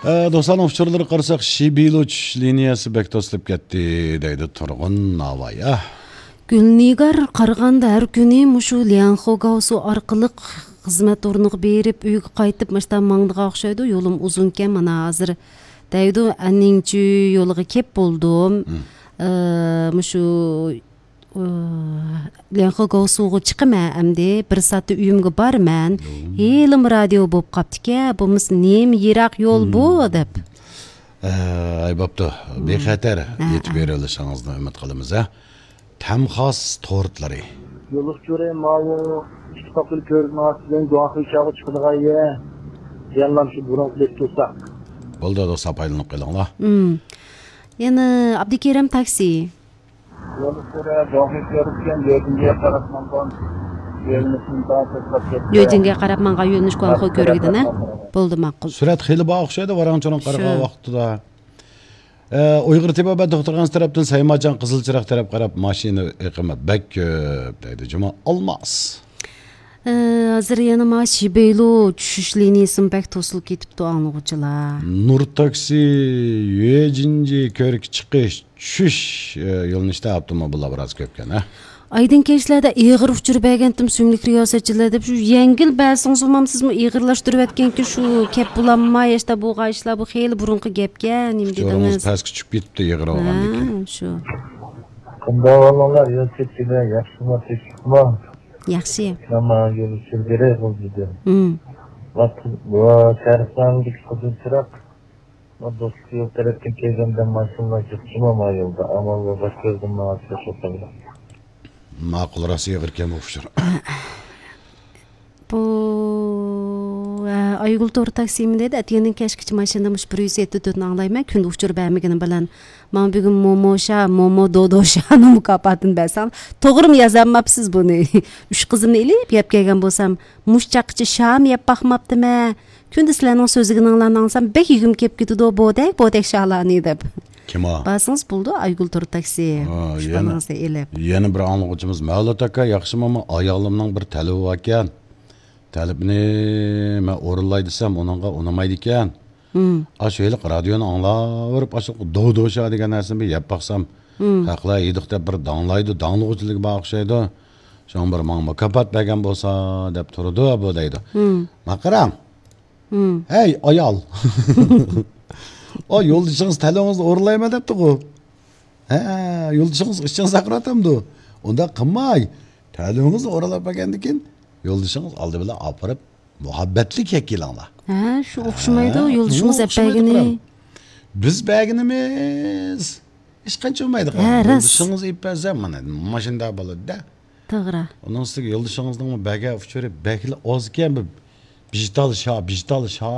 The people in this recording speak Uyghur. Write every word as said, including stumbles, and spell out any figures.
ئە، دوستلارنىڭ ئۇچۇرلىرىغا قارىساق، شىبىلۇ چۈشۈش لىنىيەسى بەك توسۇلۇپ كەتتى، دەيدۇ تۇرغۇن ناۋايا. گۈلنىگار، قارىغاندا ھەر كۈنى مۇشۇ ليەنخۇ گاۋسۇ ئارقىلىق خىزمەت ئورنىغا بېرىپ، ئۆيگە قايتىپ، ماشتا ماڭىدىغان ئوخشايدۇ. يولۇم ئۇزۇنكەن، مانا ھازىر، دەيدۇ، ئەننىڭچۈ يولىغا كەپ بولدۇم. مم. ئە، مۇشۇ، ئە، ليەنخۇ گاۋسۇغا چىقىمەن ئەمدى. بىر سائەتتە ئۆيۈمگە بارىمەن. مم. ھېلىمۇ رادىيو بولۇپ قاپتىكەن. بولمىسا نېمە يىراق يول بۇ، مم، دەپ. ئە، ئەي بوپتۇ. مم. بىخەتەر، ھە، يېتىپ ھە، بېرىۋېلىشىڭىزنى ئۈمىد قىلىمىز، ھە. تەمخاس تورتلىرى. يوللۇق چورى ماۋۇ ئىككى قاپىل كۆرۈنۈۋاتىدىغان گۇاڭخې چاغا چىقىدىغان يەر. يەنىلا شۇ بۇرۇنقىدەك تۇرساق. بولدى، دوستلار، پايدىلىنىپ قېلىڭلار. مم. يەنە ئابدۇكېرىم تاكسى. يوللۇق چورى گۇاڭخې كۆرۈككەن، يۆجىنگە قاراپ ماڭغان يۆنىلىشنى داۋام قىلىپ كەتتى. يۆجىنگە قاراپ ماڭغان يۆنىلىش گۇاڭخې كۆرۈكىدىن، ھە؟ بولدى، ماقۇل. سۈرئەت خېلى بار ئوخشايدۇ، ۋاراڭ-چۇرۇڭ قارىغان شۇ ۋاقىتتا. ئە، ئۇيغۇر تېبابەت دوختۇرخانىسى تەرەپتىن سەيماجان قىزىل چىراغ تەرەپ قاراپ ماشىنا ئېقىمى بەك كۆپ، دەيدۇ جۇما ئالماس. ئە، ھازىر يەنە ما شىبېيلۇ چۈشۈش لىنىيىسىمۇ بەك توسۇلۇپ كېتىپتۇ، ئاڭلىغۇچىلار. نۇر تاكسى، يۆجىنجى كۆرۈك چىقىش، چۈشۈش، ئە، يۆنىلىشتە ئاپتوموبىللار بىراز كۆپكەن، ھە؟ ئايدىڭ كەچلەردە ئېغىر ئۇچۇر بەرگەنتىم سۆڭلۈك رىياسەتچىلەر دەپ، شۇ يەڭگىل بەرسىڭىز بولمامسىزمۇ؟ ئېغىرلاشتۇرۇۋەتكەنكى شۇ كەپ بولامما، ياشتا بولغان ئىشلار، بۇ خېلى بۇرۇنقى گەپكەن، نېمە ئۇچۇرىڭىز دېدىڭىز؟ پەسكە چۈشۈپ كېتىپتۇ ئېغىر بولغاندىكىن. ھە، شۇ. قانداق ئەھۋالىڭلار؟ يول چېكىنە ياخشىمۇ، تىنچلىقمۇ؟ ياخشى. مانا يول ئۇچۇر بېرەي بولدى. ھىم. ۋاقىت، ۋا، شەرقلەردىكى قىزىل چىراغ. ما دوستلۇق يول تەرەپتىن كەلگەندە ماشىنىلار جىقچىما ما يولدا. ئامال بار، باش كۆزدىن ماڭا چىقىش يوق. ماقۇل، راست ئېغىركەن بۇ ئۇچۇر. بۇ، ھە، ئايگۈل تور تاكسىمۇ دەيدۇ، ئەتىگەندىن كەچكىچە ماشىنىدا مۇشۇ بىر يۈز يەتتە تۆتنى ئاڭلايمەن، كۈندە ئۇچۇر بەرمىگىنىم بىلەن. ماڭا بۈگۈن مومو شا، مومو دودو شانىڭ مۇكاپاتىنى بەرسەڭ، توغرىمۇ يازالماپسىز بۇنى؟ ئۈچ قىزىمنى ئېلىپ يەپ كەلگەن بولسام، مۇشۇ چاغقىچە شام يەپ باقماپتىمەن. كۈندە سىلەرنىڭ سۆزلىگىنىڭلارنى ئاڭلىسام، بەك يېگۈم كېلىپ كېتىدۇ، بودەك، بودەك شالارنى دەپ. كىم ئۇ؟ بارسىڭىز بولىدۇ، ئايگۈل تور تاكسى. ھا، ئۈچ يەنە، بالىڭىزنى ئېلىپ. يەنە بىر ئاڭلىغۇچىمىز مەۋلۇت ئاكا، ياخشىمۇ؟ ئايالىمنىڭ بىر تەلىپى باركەن. تەلىپىنى مەن ئورۇنلاي دېسەم، ئۇنىڭغا ئۇنىمايدىكەن. ھىم. ئاشۇ ھېلىقى رادىيونى ئاڭلاۋېرىپ، ئاشۇ دودوشا دېگەن نەرسىنى بىر يەپ باقسام، ھىم، خەقلەر يېدۇق دەپ بىر داڭلايدۇ، داڭلىغۇچىلىكى بار ئوخشايدۇ. شۇڭا بىر ماڭا مۇكاپات بەرگەن بولسا دەپ تۇرىدۇ بۇ، دەيدۇ. ھىم. ماقىراڭ. ھىم. ھەي، ئايال! ئا، يولدىشىڭىز تەلىپىڭىزنى ئورۇنلايمەن دەپتىغۇ. ھە، يولدىشىڭىز ئىچىڭىز ئاغرىتامدۇ؟ ئۇنداق قىلماي. تەلىپىڭىزنى ئورۇنلاپ بەرگەندىن كېيىن، يولدىشىڭىز ئالدى بىلەن ئاپىرىپ، مۇھەببەتلىك يەپ كېلىڭلار. ھە، شۇ ئوخشىمايدۇ، ھە، يولدىشىڭىز ئەپ بەرگىنى. بىز بەرگىنىمىز ھېچقانچە بولمايدىغان. ھە، راست. يولدىشىڭىز ئېلىپ بەرسە، مانا، ماشىنىدا بولىدۇ-دە. توغرا. ئۇنىڭ ئۈستىگە يولدىشىڭىزنىڭ بەرگەن ئۇچۇرى بەكلا ئاز ئىكەن، بىر بىژتال شا، بىژتال شا.